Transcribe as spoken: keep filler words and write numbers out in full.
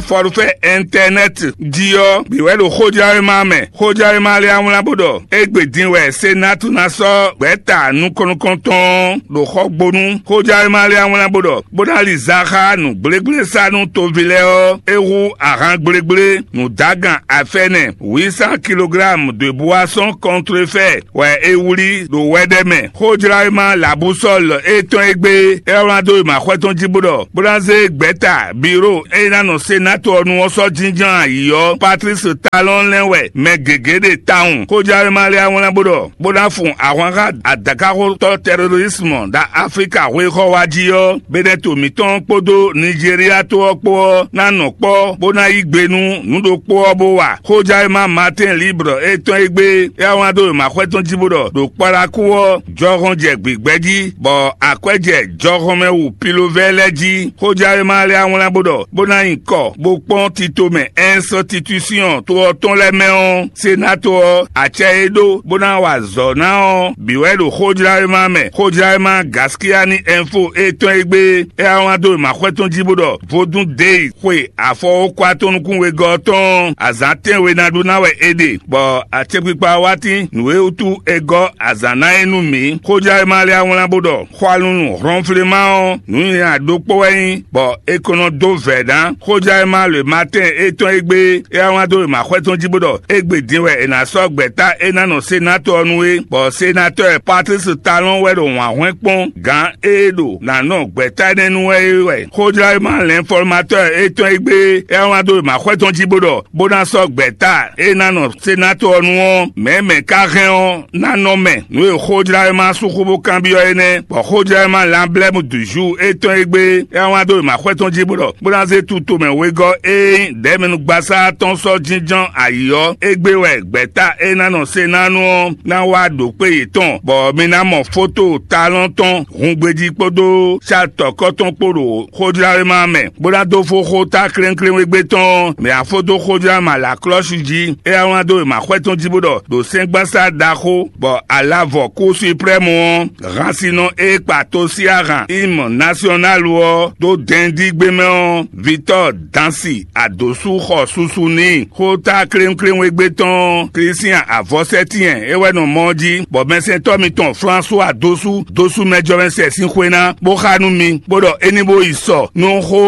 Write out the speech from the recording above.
Forfait internet jí ɔ́, bǐ wɛ ɖo xójlawéma mɛ. Xójlawéma lɛ́ɛ wlán bó ɖɔ égbé din wɛ Senatu ná sɔ́ gbɛ̌ta nukɔn nukɔntɔn ɔ́ ɖo xɔgbónu. Xójlawéma lɛ́ɛ wlán bó ɖɔ bó ná li za xá nǔgblégblésanú toví lɛ́ɛ ɔ́, é hú ahan gblégblénǔdágan afɛ́nɛ huit cent kilogrammes de boisson contrefait wɛ è wlí ɖo wɛɖɛ́ mɛ. Xójlawéma Labusɔ́l étɔn e gbé é wlán dó wěmaxɔ́ tɔn jí bó ɖɔ bó ná zé gbɛ̌ta biro e ná nɔ Senatu ɔ́ nu ɔ́ sɔ́ jínjɔ́n ayǐ ɔ́, Patlísi Talɔn lɛ́n wɛ mɛ gěgé ɖe tawun. Xójlawéma lɛ́ɛ wlán bó ɖɔ bó ná fun ahwan xá adǎkaxotɔ́ tɛrorismu ɖo Aflíka xwéxɔ́ wá jí ɔ́, Benɛto mǐtɔn kpódó Nijeriya to ɔ́ kpó ɔ́ ná nɔ kpɔ́ bó ná yí gbe nú nǔ ɖokpó ɔ́ bó wa. Xójlawéma Matin Libre étɔn e gbé é wá wlán dó wěmaxɔ́ tɔn jí bó ɖɔ ɖo Kpalaku ɔ́, jɔhɔn jɛ gbǐgbɛ́ jí, bɔ akwɛ́ jɛ jɔhɔnmɛ wu pilovɛ́ lɛ́ɛ jí. Xójlawéma lɛ́ɛ wlán bó ɖɔ bó ná nyi kɔ bó kpɔ́n tito mɛ ɛnsɔtitúsiɔn to ɔ́ tɔn lɛ́ɛ mɛ ɔ́, Senato ɔ́, acɛ e ɖó bó ná wa azɔ̌ ná ɔ́ bǐ wɛ ɖo xójlawéma mɛ. Xójlawéma Gaskiyani Ɛnfo étɔn e gbé é wá wlán dó wěmaxɔ́ tɔn jí bó ɖɔ Vodún Dei xwe afɔwókwa tɔn nukún wegɔ́ ɔ́ tɔn azǎn tɛ́nwe ná ɖu ná wɛ è ɖe, bɔ acɛkpikpa wá tín nǔ e wútu è gɔ́ azǎn ná é nú mǐ. Xójlawéma lɛ́ɛ wlán bó ɖɔ xwalunu hlɔnfléma ɔ́, nǔnywɛ́ ɖokpó wɛ nyí, bɔ è ko nɔ dó vɛ̌ ná. Xójlawéma le Matɛ́n étɔn e gbé é wá wlán dó wěmaxɔ́ tɔn jí bó ɖɔ égbé din wɛ è nǎ sɔ́ gbɛ̌ta e ná nɔ Senatɔ́ ɔ́ nu é, bɔ Senatɔ́ Patlísi Talɔn wɛ ɖo wǎn hwɛ́n kpɔ́n gǎn e ɖo nǎ nɔ gbɛ̌ta énɛ́ nu wɛ é wɛ. Xójlawéma lɛ̌nfɔ́matɔ́ étɔn e gbé é wá wlán dó wěmaxɔ́ tɔn jí bó ɖɔ bó ná sɔ́ gbɛ̌ta e ná nɔ Senatɔ́ ɔ́ nu ɔ́, mɛ̌ mɛ ka hɛn ɔ́ ná nɔ mɛ. Nǔ e xójlawéma sú xó bó kanbyɔ́ é nɛ́, bɔ xójlawéma Lanblɛ́mu Duzu étɔn e gbé é wá wlán dó wěmaxɔ́ tɔn jí bó ɖɔ bó ná zé tutomɛ wegɔ́ e nyí ɖɛ̌mɛnugbasá tɔn sɔ́ jínjɔ́n ayǐ ɔ́, égbé wɛ gbɛ̌ta e ná nɔ Senanu ɔ́ ná wá ɖo kpé yětɔn, bɔ mi ná mɔ fóto talɔn tɔn hungbejí kpódó satɔ̌kɔ tɔn kpó ɖo xójlawéma mɛ, bó ná dó fó xó ta klénklénwégbé tɔn ɔ́, mɛ afó dó xójlawéma Laklɔ́si jí. É wá wlán dó wěmaxɔ́ tɔn jí bó ɖɔ ɖo sɛ́ngbasá ɖaxó, bɔ alavɔ kú suprɛ́mu ɔ́, hansinɔ e kpa to sí ahan himɔ nasyɔnálu ɔ́ dó dɛndígbé mɛ ɔ́, Vitɔ́ɔ Dansi Adosu xɔ susu n'i. Xóta klénklénwégbé tɔn Klísian Avɔsɛ́tiɛn é wɛ nɔ mɔ ɔ́ jí, bɔ mɛsɛntɔ́ mitɔn Flánsu Adosu dó sú mɛjɔmɛsɛ sín xwé ná, bó xá nú mi, bó ɖɔ é ní bó yi sɔ nú xó